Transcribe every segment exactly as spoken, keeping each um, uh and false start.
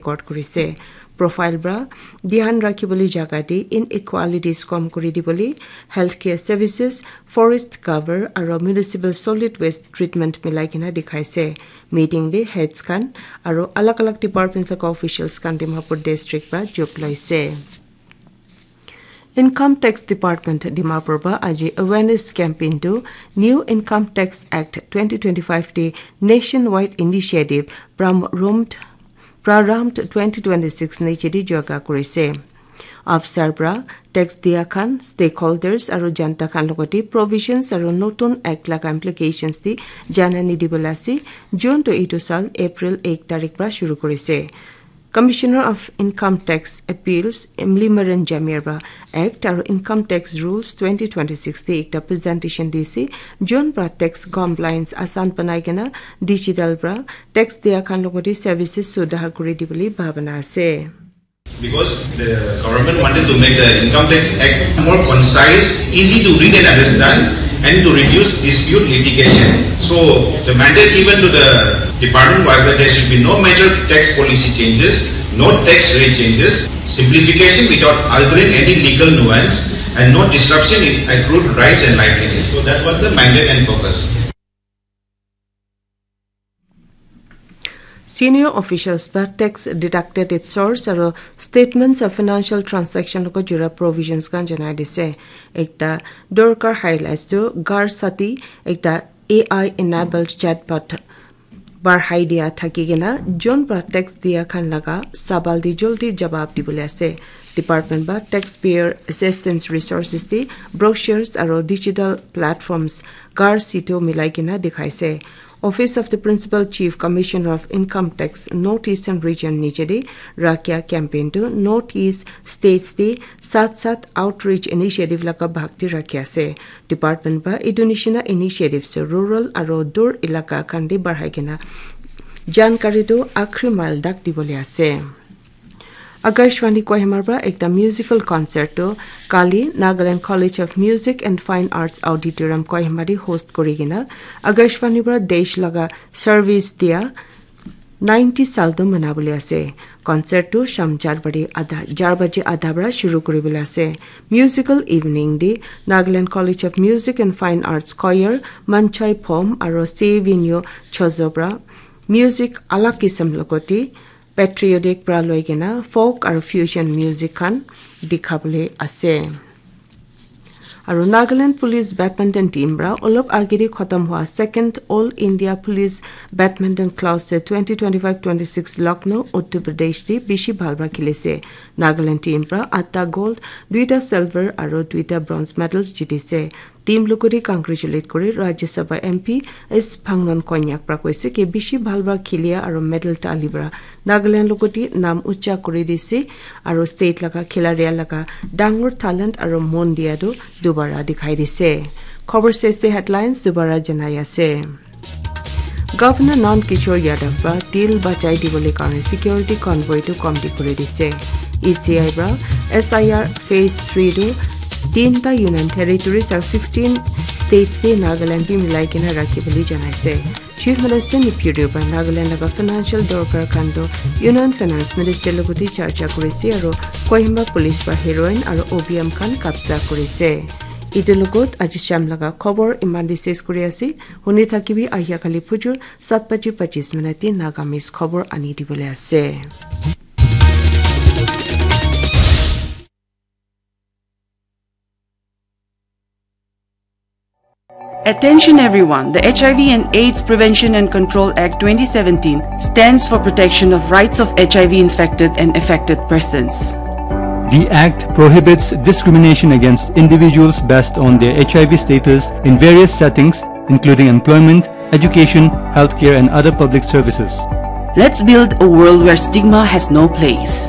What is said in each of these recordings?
record kurise. Profile pra dhyan rakhibole jaga te inequalities kom kuri dibole, healthcare services, forest cover aro municipal solid waste treatment milai kena dikhaise. Meeting te heads khan aro alag alag departments laga officials khan Dimapur district pra jog loise. Income Tax Department Dimapur pra aji awareness campaign to New Income Tax Act twenty twenty-five te nationwide initiative Pramrumt Prarambh twenty twenty-six niche te jaga kurise. Afsar pra tax dia khan, stakeholders aro janta khan logote provisions aro notun act laga implications te janani dibole ase. June to etu sal April ek tarik pra shuru kurise. Commissioner of Income Tax Appeals Emily Maren Jamir pra Act aro Income Tax Rules twenty twenty-six te ekta presentation dise. Jun pra tax compliance asan banai kena digital pra tax dia khan logote services sudhar kuri dibole bhabana ase. Because the government wanted to make the Income Tax Act more concise, easy to read and understand, and to reduce dispute litigation. So the mandate given to the department was that there should be no major tax policy changes, no tax rate changes, simplification without altering any legal nuance, and no disruption in accrued rights and livelihoods. So that was the mandate and focus. Senior officials pra tax deducted its source aro statements of financial transaction logo jura provisions khan janai dise. Ekta dorkar highlights to Gar Sati, ekta A I enabled chatbot barhai dia thaki kena jon pra tax dia khan laga sabal di joldi jawab dibole ase. Department pra taxpayer assistance resources di brochures aro digital platforms Gar Sito milai kena dikhaise. Office of the Principal Chief Commissioner of Income Tax North Eastern Region niche te rakya campaign to North East states te sat sat outreach initiative laga bhag te rakhi ase. Department pra etu nishina initiatives rural aro dur elaka khan te barhai kena jankari tu akhri mile dak dibole ase. Akashvani Kohima pra ekta musical concert tu kali Nagaland College of Music and Fine Arts Auditorium Kohima te host kuri kena Akashvani pra desh laga service dia ninety sal tu manabole ase. Concert tu sham char baje adha, char baje adha pra shuru kuribole ase. Musical evening te Nagaland College of Music and Fine Arts Choir, Manchai Phom aro Sevinyo Chozo pra music alag kisam logote patriotic pra loi kena folk aro fusion music khan dikhabole ase. Aro Nagaland Police Badminton Team pra olop ageri khatam hua second All India Police Badminton Classic twenty twenty-five twenty-six Lucknow, Uttar Pradesh te bishi bhal pra khilise. Nagaland team pra atta gold, duita silver aro duita bronze medals jitise. Team logote congratulate kuri Rajya Sabha M P S Phangnon Konyak pra koise ki bishi bhal pra khilia aro medal tali pra Nagaland logote nam ucha kuri dise aro state laga khilaria laga dangor talent aro mon dia tu dubara dikhai dise. Khobor sese headlines dubara janai ase. Governor Nand Kishore Yadav pra til bachai dibole karne security convoy tu komti kuri dise. E C I pra S I R phase three tu tinta Union Territories aro sixteen states te Nagaland bi milai kena rakhi bole janaise. Chief Minister Neiphiu Rio pra Nagaland laga financial dorkar khan tu Union Finance Minister logote charcha kurise aro Kohima Police pra heroin aro opium khan kabza kurise. Etu logot aji sham laga khobor iman te ses kuri ase. Huni thakibi ahia kali phujur sat baji pachis minute te Nagamese khobor ani dibole ase. Attention everyone, the H I V and AIDS Prevention and Control Act twenty seventeen stands for protection of rights of H I V infected and affected persons. The Act prohibits discrimination against individuals based on their H I V status in various settings, including employment, education, healthcare, and other public services. Let's build a world where stigma has no place.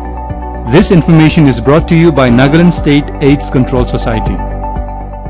This information is brought to you by Nagaland State AIDS Control Society.